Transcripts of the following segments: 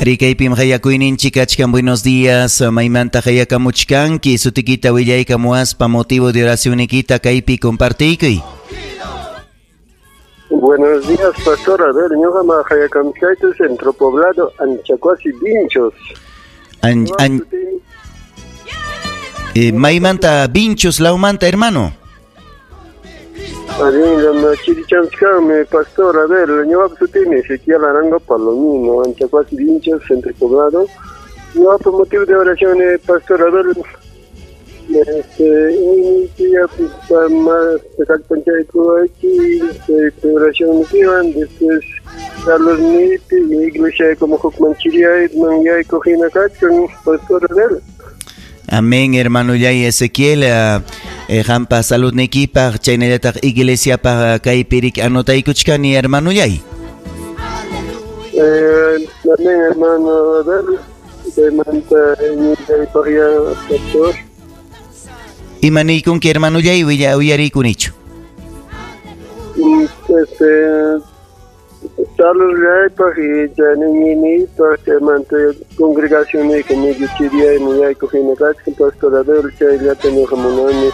Rikaypim qayakuyninchik kachkan. Buenos días. Maymanta qayakamuchkanki? Sutikita willaykamuwaspa motivo de oracionnikita kaypi compartiykuy. Buenos días, pastor. A ver, ñuqa qayakamuchkaytu Centro Poblado, Anchacuasi, Vinchos. Maymanta Vinchos lawmanta, hermano. Chirichamchkanmi, pastor. A ver, ñuqapa sutiymi Ezequiel Arango Palomino, Anchacuasi, Vinchos, Centro Poblado. Ñuqapa motivo de oración, pastor, a ver, más oración después Carlos Nipi, iglesia como Hukmanchiria, Manyayko hinakachkan, pastor, a ver. Amén, hermano Yay Ezequiel, qampa saludnikipaq chaynallataq iglesiapaq kaypi anotaykuchkani, hermano Yay. Amén, hermano, a ver, chaymanta pastor. Imaniykunki, hermano Yay, uyarikunichu. Saludllaypaq y chaninñiniypaq chaymanta congregacionniyku chiriyay muyayku hina kachkan, pastor, a ver, chayllata ñuqa munani.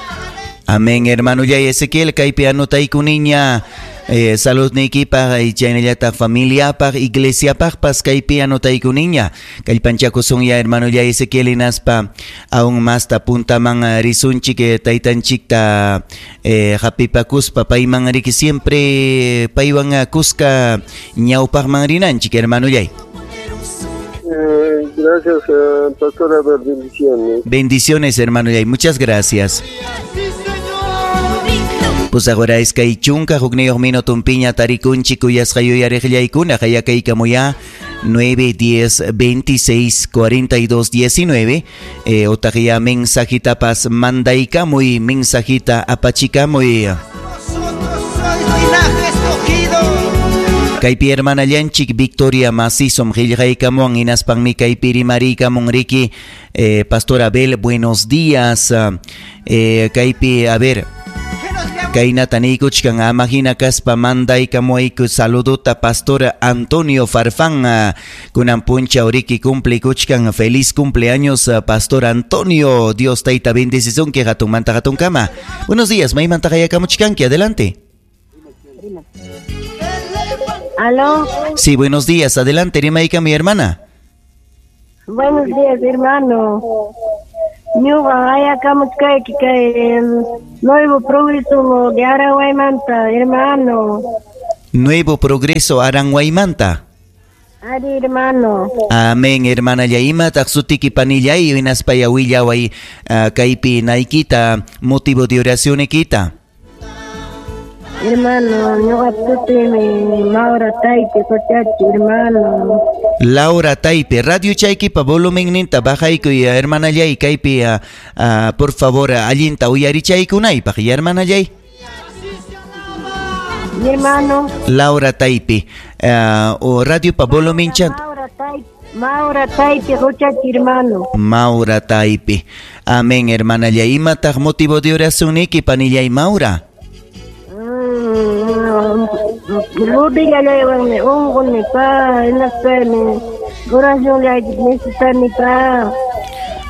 Amén, hermano Yay Ezequiel, kaypi anotayku niña saludniykipaq y chaynallataq familiapaq, iglesiapaqpas kaypi anotayku niña. Kallpanchakusunya, hermano Yay Ezequiel, hinaspa aún masta puntaman risunchik taytanchikta hapipakuspa payman riki siempre paywan kuska ñawpaqman rinanchik, hermano Yay. Gracias, pastor, a ver, bendiciones. Bendiciones, hermano Yay, muchas gracias. Pues ahora iskay chunka hukniyuq minutunpiña tarikunchik kuyasqa yuyariqllaykuna qayakaykamuya 9 10 26 42 19 otaq ya mensajitapas mandaykamuy, mensajita apachikamuy. Kaypi hermanallanchik Victoria Macizom qillqaykamuwan hinaspanmi kaypi rimariykamun riki, Pastor Abel, buenos días. Kaypi, a ver, kaynata niykuchkan: ama hina kaspa mandaykamuwayku saludota Pastor Antonio Farfán, kunan punchaw riki cumplikuchkan. Feliz cumpleaños, Pastor Antonio, Dios tayta bendecisunki hatunmanta hatunkama. Buenos días, maymanta qayakamuchkanki? Adelante. ¿Aló? Sí, buenos días. Adelante, rimayka, mi hermana. Buenos días, hermano. Ñuqa qayakamuchkayki kay Nuevo Progreso de Aranguaymanta, hermano. Nuevo Progreso Aranguaymanta. Ari, hermano. Amén, hermana. Imataq sutiki, panillay, hinaspaya willaway kaypi naykita, motivo de oracionikita. Hermano, ñuqa sutiymi Laura Taipe Cochachi, hermano. Laura Taipe, radio chaykipa volumenninta bajaykuy, hermanallay, kaypi por favor allinta uyarichaykunaypaq, ya, hermanallay. Mi hermano. Laura Taipe, o radiopa volumen chan. Maura Taipe, Maura Taipe Cochachi, hermano. Maura Taipe. Amén, hermanallay. Imataq motivo de oracionniki, panillay Maura? Rodillallaywanmi unquni pa, hinaspami oracionllayki necesitani pa.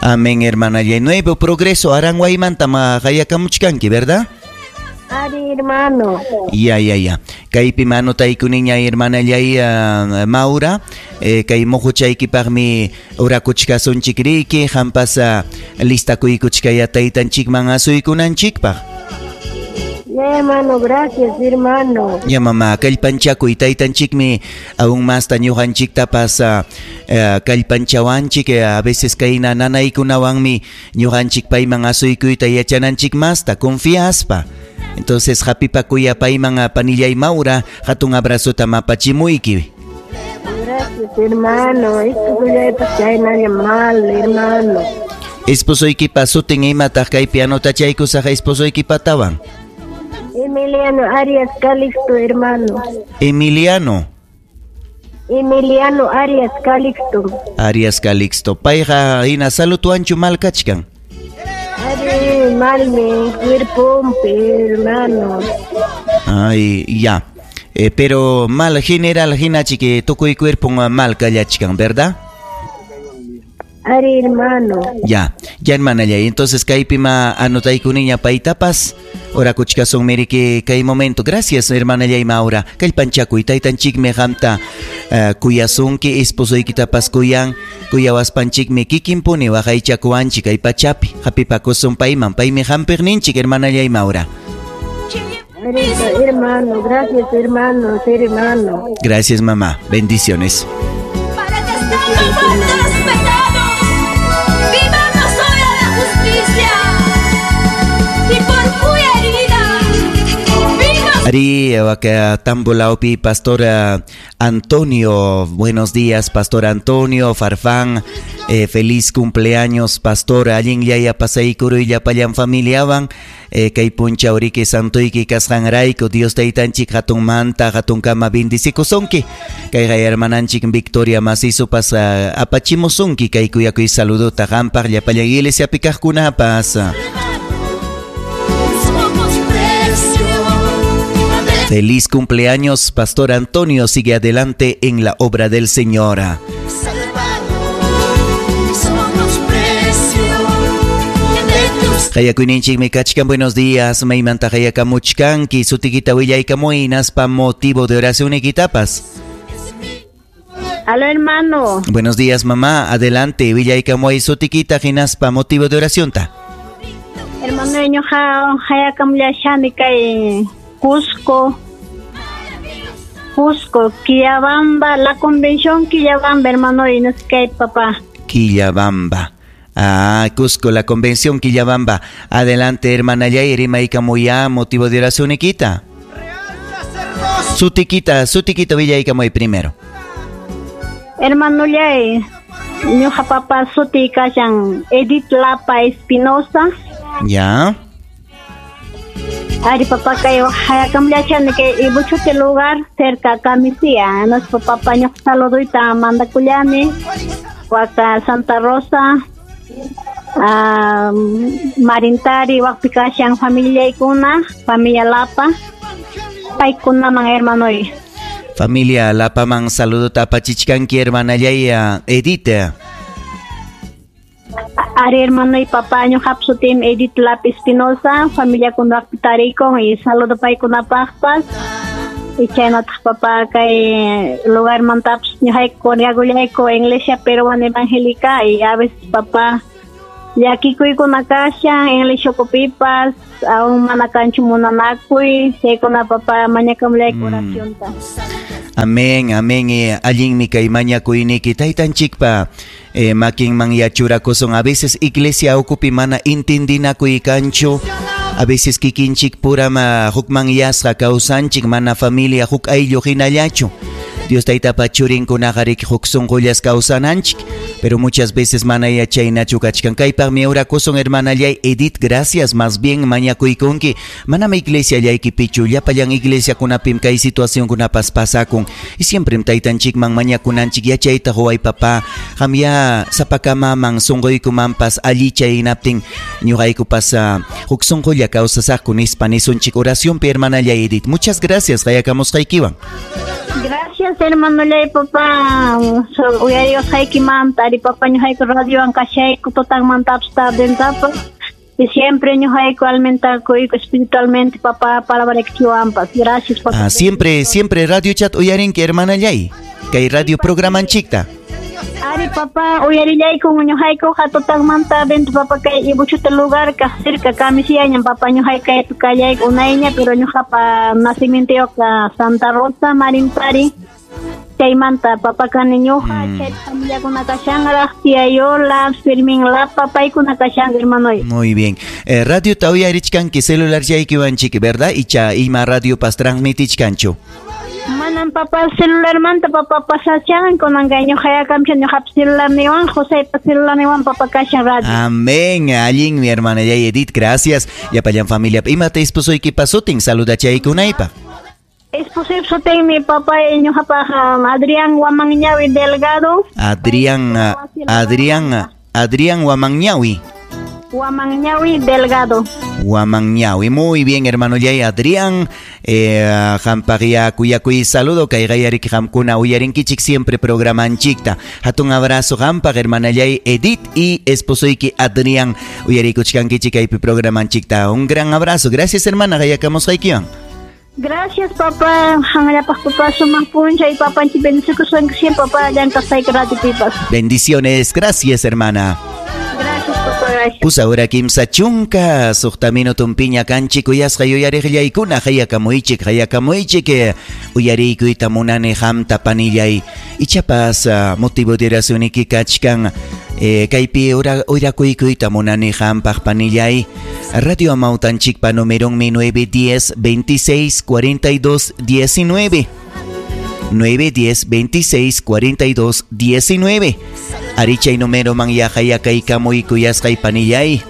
Amén, hermanallay. Nuevo Progreso Aranguaymanta ma qayakamuchkanki, ¿verdad? Ari, hermano. Ya. Kaypi anotayku niña, hermanallay Maura, kay muhuchaykipaqmi orakuchkasunchik riki, qampas listakuykuchkaya taytanchikman asuykunanchikpaq. Ya, hermano, gracias, hermano. Ya, mamá, kallpanchakuy, taytanchikmi aún masta ñuqanchiktapas kallpanchawanchik, a veces kayna nanaykunawanmi ñuqanchik payman asuykuyta yachananchik masta confiaspa. Entonces, hapipakuya payman, panillay Maura, hatun abrazota mapachimuyki. Gracias, hermano. Esposoypas chaynalla mal, hermano. Esposoykipa sutin imataq kaypi anotachaykusaq esposoykipatawan? Emiliano Arias Calixto, hermano. Emiliano. Emiliano Arias Calixto. Arias Calixto. Payqa hina saludwanchu mal kachkan? Ari, malmi, cuerpompi, hermano. Ay, ya. Pero mal general hinachiki tukuy cuerpo mal kallachkan, ¿verdad? Ari, hermano. Ya, ya hermanallay. Entonces kaypi ma anotaykuniña paytapas. Orakuchkasun miriki kay momento. Gracias, hermanallay Maura. Kallpanchakuy taytanchikmi qamta kuyasunki, esposoykitapas kuyan, kuyawaspanchikmi kikinpuni waqaychakuwanchik kay pachapi. Hapipakusun payman, paymi hampiqninchik, hermanallay Maura. Hermano, gracias, hermano, hermano. Gracias, mamá. Bendiciones. Para que estando muertos los pecados, vivamos hoy a la justicia. Y por cuya herida vino. Ari, Tambolaupi, Pastor Antonio, buenos días, Pastor Antonio Farfán, feliz cumpleaños, Pastor. Allin yaya pasaykuru llapallan familiawan, kay puncha uriki santoyki kasqanrayku, Dios taytanchik hatunmanta hatunkama bendicikusonki. Kayqa hermananchik Victoria Macizopas apachimusunki kay kuyakuy saludota qampaq llapallan iglesiapi kaqkunapas. Feliz cumpleaños, Pastor Antonio. Sigue adelante en la obra del Señor. Hayakuyninchikmi kachkan, buenos días. Maymanta hayakamuchkanki, sutikita willaykamuy, naspa motivo de oración ikitapas. Aló, hermano. Buenos días, mamá. Adelante, willaykamuy, sutikita hinaspa motivo de oración ta. Hermano, ñuqa hayakamllashani kay Cusco, Cusco, Quillabamba, la convención Quillabamba, hermano, y no sé qué, papá. Quillabamba. Ah, Cusco, la convención Quillabamba. Adelante, hermana Yair, Maikamuya, motivo de oración, Iquita. Sutiquita, Sutiquita Villa Icamuy primero. Hermano Yair, ñuqa papá suti kashan Edith Lapa Espinosa. Ya. Ari papá kay hayakamllachani kay Ibuchute lugar cerca Camisea. Nuestro papá ñuqa saludoyta mandakullani. Waka Santa Rosa, Marintari, wakpi kashan familiaykuna, familia Lapa. Paykunaman hermanoy. Familia Lapa man saludo tapachichkanki hermana Yaya Edith. Ari hermano y papá ñuqap sutim Edith Lapa Espinosa, familia kunakpi tarikun y saludo paykunapaqpas. Y chaynataq papá kay lugar mantapas ñuqayku riagullayku iglesia peruana evangélica y a veces papá llakikuykuna kashan iglesia ukupipas aún mana kanchu munanakuy chaykuna papá mañakamullayku oracionta. Amén, amén. Allinmi kay mañakuyniki taytanchikpa makinman yachurakusun. A veces iglesia ukupi mana intindinakuy kanchu. A veces kikinchik purama hukman yasqa kawsanchik mana familia huk ayllu hinallachu. Dios taytapa churinkunaqa huk sunqullas kawsananchik, pero muchas veces mana yachaynachu kachkan. Kaypaqmi orakusun hermanallay Edith, gracias. Más bien mañakuykunki. Manam iglesia llaykipichu, llapallan iglesiakunapim kay situacionkunapas pasakun. Y siempre taytanchikman mañakunanchik yachayta huway papá. Qamya sapakamaman sunquykumanpas allichay hinaptin ñuqaykupas huk sunqulla kawsasaqku nispa nisunchik oracionpi hermanallay Edith. Muchas gracias, qayakamusqaykiwan. Gracias, hermano lay papá. Uyariwasqaykimanta, ari papá ñuqayku radiowan kashayku tutanmantapas tardentapas. Y siempre ñuqayku alimentakuyku espiritualmente papá palabra kiwanpas. Gracias, papá. Ah, siempre, siempre radio chat uyarinki hermana lay. Kay radio programanchikta. Ari papá uyarillayku ñuqayku tutanmanta dentro papá kay Ibuchute lugar ka cerca Camisiaña papá ñuqayku kaypi kallayku unayña pero ñuqapa nacimientoyuqa Santa Rosa Marintari. Chaymanta papá kani ñuqa chay familiakuna kashanraq tía Yola, Fermín Lapa paykuna kashan hermanoy. Muy bien. Radio ta uyarichkanki celular llaykiwanchik, ¿verdad? Icha ima radio pas transmitichkanchu. Manan papá celular manta papá pasachan kunanqa ñuqayakamcha ñuqap celular niwan José celular niwan papá kashan radio. Amén. Allin mi hermana Yay Edith, gracias. Llapallan familia. Imata esposoyki pasutin saludachaykunaypaq. Esposoy sutin mi papá ñuqapaq Adrián Huamanñawi Delgado. Adrián Adrián Huamanñawi. Huamanñawi Delgado. Huamanñawi. Muy bien, hermano Yay Adrián. Qampaqya kuyakuy saludo kay qayariki qamkuna uyarinkichik siempre programanchikta. Hatun abrazo qampaq hermanallay Edith y esposoyki Adrián uyarikuchkankichik kaypi programanchikta. Un gran abrazo. Gracias, hermana. Qayakamusqaykiwan. Gracias, papá. Hangalapaq papá sumaq p'unchay papanchik bendecikusqanki siempre papá llank'asqayki radio pipas. Bendiciones. Gracias, hermana. Gracias, papá. Gracias. Pusa hora 36 minutunpiña kanchik kuyasqa yuyariqllaykuna qayakamuychik qayakamuychik uyariykuyta munani qamta panillay ichapas motivo de oracioniki kachkan kaypi urakuykuyta munani qampaq panillay. Radio Amautanchikpa numeronmi 910 26 42 19. 910 26 42 19. Arichay número man yaqayakaykamuy kuyasqay panillay.